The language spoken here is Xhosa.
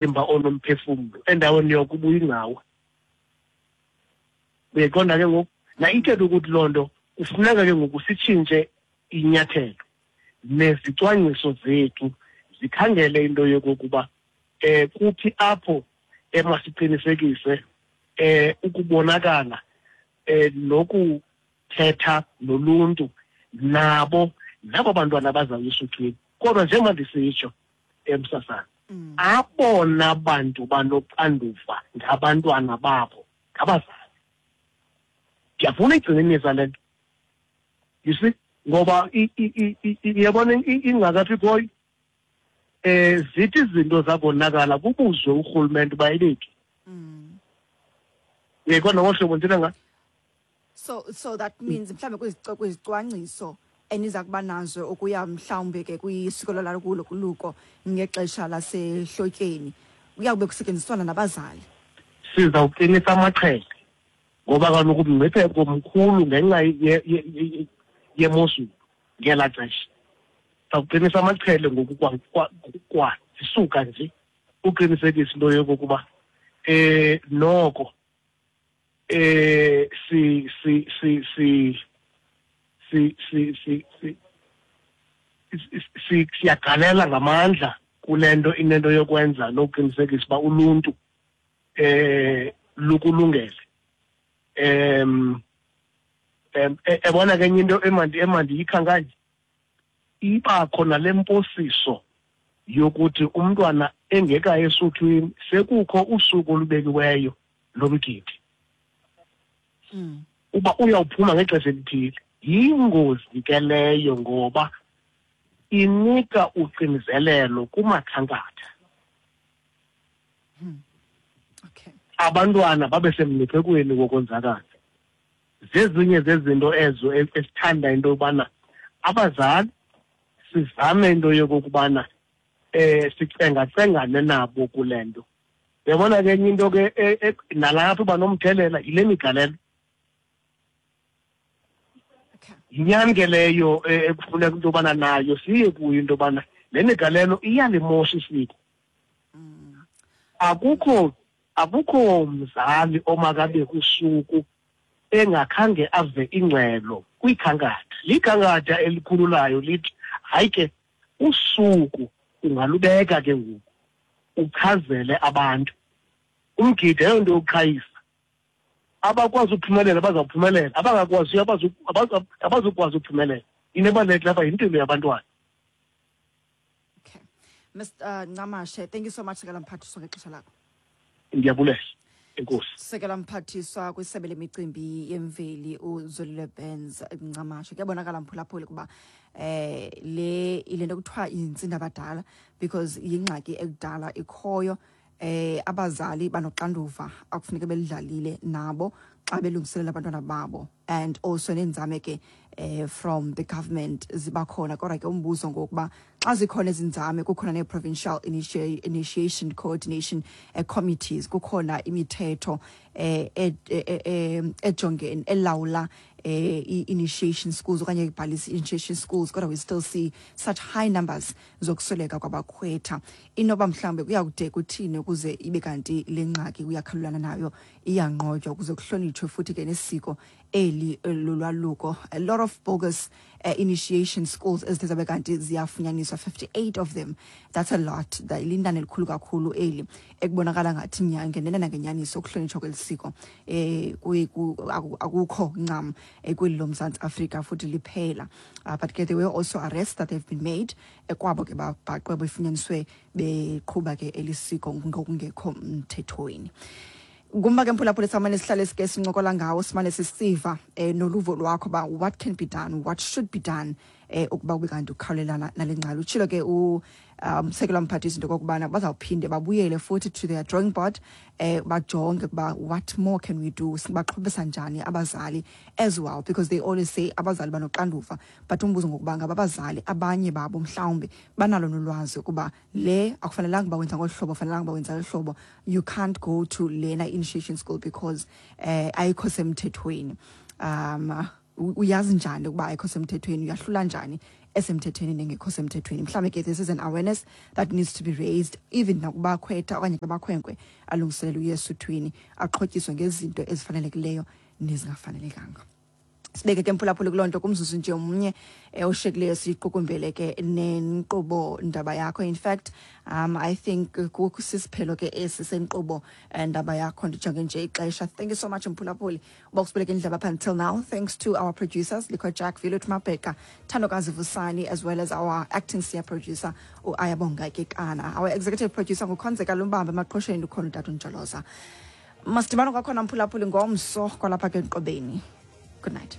Umzimba onomphefumlo endaweni yoko ubuyingcawa. Uyayiqonda ke ngoku? Na ithetha ukuthi loo nto kufuneka ke ngoku sitshintshe inyathelo nezicwangciso zethu zikhangele into yokokuba um kuphi apho emasiqinisekise um ukubonakala um nokuthetha noluntu nabo nabo bantwana bazawuya esuthwini. Kodwa njengoba ndisitsho, emsasana abona bantu banoxanduva ngabantwana babo ngabazali. Ndiyafuna igxininisa le nto, you see, ngoba iyabona ingxaki apha ikhoyo. Zithi izinto zakonakala kubuzwe urhulumente uba ebephi. Uyayiqonda ngolu hlobo ndithetha ngalo? So that means mhlawumbe kwizicwangciso eniza kuba nazo ukuya mhlawumbe ke kwisiko lolwaluko ngexesha lasehlotyeni, kuyawube kusetyenziswana nabazali. Sizawuqinisa amaqhele ngoba kaloku umngcipheko mkhulu ngenxa yemozulu ngelaa xesha. Sizawuqinisa amaqhele ngoku kwa zisuka nje uqinisekisa into yokokuba noko si si si si si si si si si siyagalela ngamandla kule nto inento yokwenza nokuqinisekisa uba uluntu lukulungele. Ebona ke enye into emandiyikhankanye, ibakho nale mposiso yokuthi umntwana engekayi esuthwini sekukho usuku olubekiweyo lomgidi. Uba uyawuphuma ngexesha elithile. Yingozi ke leyo ngoba inika uxinizelelo kumakhankatha. Abantwana babe semngciphekweni wokonzakala. Zezinye zezinto ezo esithanda into yobana abazali sizame into yokokubana sicengacengane nabo kule nto. Uyabona ke enye into ke nalapho uba nomthelela yile migalelo. Yinyani ke leyo ekufuneka into yobana nayo siye kuyo into yobana le migalelo iyalimosha isiko. Akukho mzali omakabe kusuku engakhange ave ingxelo kwikhankatha. Likhankatha elikhululayo lithi hayi ke usuku ungalubeka ke ngoku uchazele abantu. Umgidi ayonto yokuqhayisa. Abakwazi ukuphumelela bazawuphumelela, abangakwaziyo abazukwazi ukuphumelela. Into ebalulekileyo apha yimpilo yabantwana. Okay. Mr Ncamashe, thank you so much, Sekela Mphathiswa, ngexesha lakho. Ndiyabulela. Enkosi. Sekela Mphathiswa kwisebe lemicimbi yemveli uZolile Burns Ncamashe. Kuyabonakala mphulaphuli kuba le ile nto kuthiwa yintsinda abadala, because yingxaki ekudala ikhoyo. Abazali banoxanduva akufuneka belidlalile nabo xa belungiselela abantwana babo, and also neenzame ke from the government ziba khona. Kodwa ke umbuzo ngokuba xa zikhona ezinzame, kukhona nee-provincial initiation coordination committees, kukhona imithetho ejongene elawula i-initiation schools okanye ibhalisa i-initiation schools, kodwa we still see such high numbers zokusweleka kwabakhwetha. Inoba mhlawumbe kuyawude kuthini ukuze ibe kanti le ngxaki kuyakhalulana nayo, iyanqotywa, ukuze kuhlonitshwe futhi ke nesiko eli lolwaluko? A lot of bogus initiation schools ezithe zabe kanti ziyafunyaniswa, 58 of them, that's a lot. Linani elikhulu kakhulu eli ekubonakala ngathi ngenene nangenyaniso ukuhlonitshwa kweli siko akukho ncam kweli loMzantsi Afrika futhi liphela. But ke there were also arrests that have been made kwabo ke babhaqwe befunyaniswe beqhuba ke elisiko ngokungekho mthethweni. Ngumba ke mphulaphula samane sihlale sike sincokola ngawo, simane sisiva noluvo lwakho ba what can be done, what should be done ukuba kube kanti ukhawulelana nale ngxaki. Utshilo ke u-Sekela Mphathiswa into okokubana bazawuphinde babuyele futhi to their drawing board, bajonge ukuba what more can we do, sibaqhubisa njani abazali as well, because they always say abazali banoxanduva, but umbuzo ngokuba ngaba abazali abanye babo mhlawumbi banalo nolwazi ukuba le akufanelanga uba wenza ngolu hlobo, akufanelanga uba wenza ngolu hlobo, you can't go to lena initiation school because ayikho semthethweni. Uyazi njani ukuba ayikho semthethweni? Uyahlula njani esemthethweni nengekho semthethweni. Mhlawumbi ke this is an awareness that needs to be raised even nakubakhwetha okanye kubakhwenkwe alungiselela uye esuthwini, axhotyiswe ngezinto ezifanelekileyo nezingafanelekanga. Sibeke ke, mphulaphuli, kuloo nto kumzuzu nje omnye oshiyekileyo, siyiqukumbele ke nenkqubo Ndaba Yakho. In fact, I think sisiphelo ke esi senkqubo Ndaba Yakho, ndijonge nje ixesha. Thank you so much, mphulaphuli, uba usibeleke indlebe up until now. Thanks to our producers, Liko Jack, Vilut Mabheka, Thandokazi Vusani, as well as our acting senior producer, uAyabonga Kekana. Our executive producer nguKhonzeka Lumbambe. Emaqhosheni ukhona utata uNjoloza. Masidibane kwakhona, mphulaphuli, ngomso kwalapha ke enkqubeni. Good night.